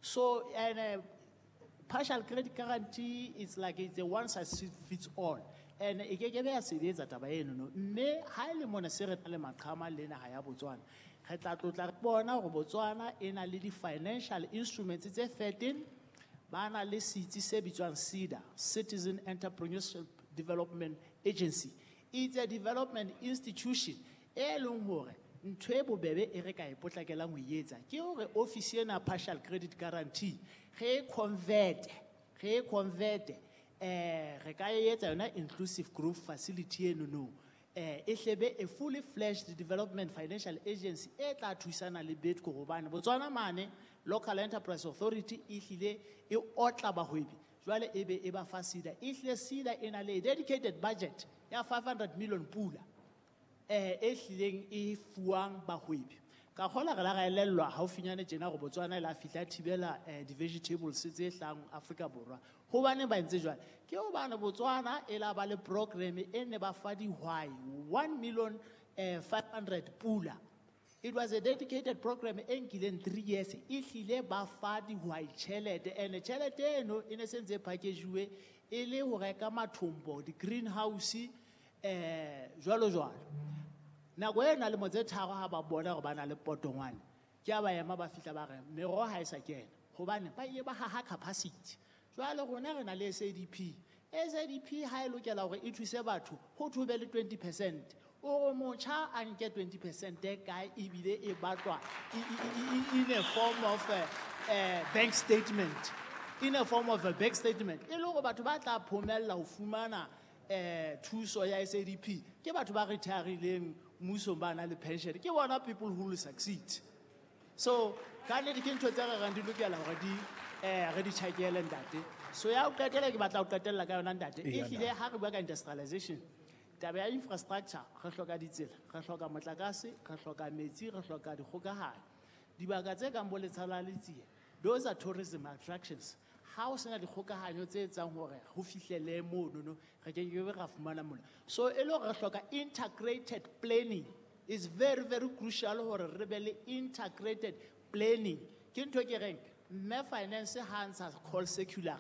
So and partial credit guarantee is like it's a one size fits all. And e ke ke be ya sebetsa taba eno no. Mme ha e le mona se re na le maqhama le naha ya Botswana, re tla tlotla re bona hore Botswana e na le di-financial instruments tse 13, ba na le setsi se bitswang SEDA, Citizen Entrepreneurship Development Agency. It's a development institution e leng hore ntho e bobebe e re ka e potlakelang ho e etsa ke hore office ena partial credit guarantee re e convert, re e convert, re ka e etsa yona inclusive growth facility eno no. E hlebe a fully fledged development financial agency e tla thusana le BEDCO hobane Botswana mane Local Enterprise Authority e hlile e otla bahwebi jwale e be e ba fa SEDA. E hlile SEDA e na le dedicated budget ya 500 million pula e hlileng e fuwang bahwebi. Ka kgola re la ra elellwa haufinyane tjena hore Botswana e la fihla thibela di-vegetables tse hlahang Afrika Borwa. Hobaneng ba entse jwalo? Ke hobane Botswana e la ba le program e ne ba fa dihwai 1 million 500 pula. It was a dedicated program e nkileng 3 years. E hlile ba fa dihwai tjhelete, and tjhelete eno e ne sentse e package-uwe e le ho reka mathombo, di-greenhouse, jwalo jwalo. Nako e na lemo tse tharo ha ba bona hore ba na le potongwane, ke ha ba ema ba fihla ba re meroho ha e sa kena hobane ba ile ba haha capacity. Jwale rona re na le SADP. SADP ha e lokela hore e thuse batho ho thwe be le 20%. O re motjha a nke 20% e kae ebile e batlwa in a form of a bank statement. In a form of a bank statement. E le hore batho ba tla phomella ho fumana thuso ya SADP ke batho ba retirileng mmusong ba na le pension. Ke bona people who will succeed. So ka nnete ke ntho tse re reng di lokela hore di re di tjhakele ntate. So ya ho qetela ke batla ho qetella ka yona ntate. Eya, Ehlile ntate. ha re bua ka industrialization, taba ya infrastructure, re hloka ditsela, re hloka motlakase, re hloka metsi, re hloka dikgokahanyo. Dibaka tse kang bo Letsha la Letsie, those are tourism attractions. Ha o sena dikgokahanyo tse etsang hore ho fihlele mono no, re ke ke be ra fumana mona. So e le hore re hloka integrated planning. It's very, very crucial hore re be le integrated planning. Ke ntho e ke reng, mme finance ha ntsha call circular,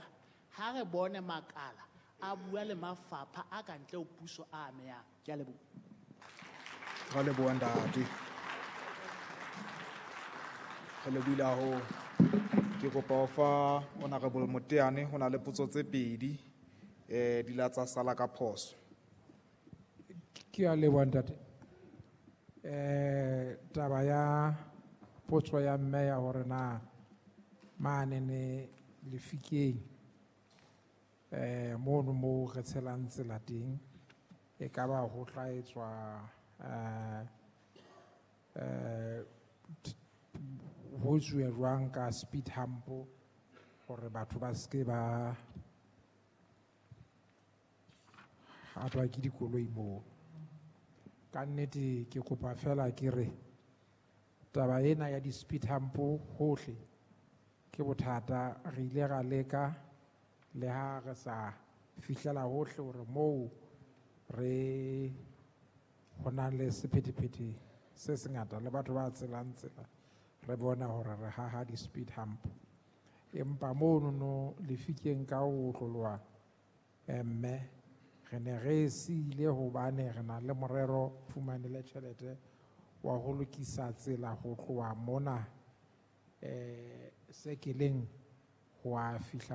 ha re bone makala a bua le mafapha a ka ntle ho puso a amehang. Ke a leboha. Ra leboha ntate. Re lebohile haholo. Ke kopa ho fa Honorable Moteane, ho na le potso tse pedi, di la tsa sala ka phoso. Ke a leboha ntate. Taba ya potso ya mme ya hore na mane ne lefikeng, mono moo re tshelang tsela teng, e ka ba ho tla etswa, ho etsuwe jwang ka speed hump hore batho ba seke ba hatwa ke dikoloi moo. Ka nnete ke kopa fela ke re taba ena ya di-speed hump hohle ke bothata. Re ile ra leka le ha re sa fihlela hohle hore moo re ho nang le sephethephethe se sengata le batho ba tselang tsela, re bona hore re haha di-speed hump. Empa mono no lefikeng ka ho otloloha, mme re ne re siile hobane re na le morero fumane le tjhelete wa ho lokisa tsela ho tloha mona, sekeleng ho a fihla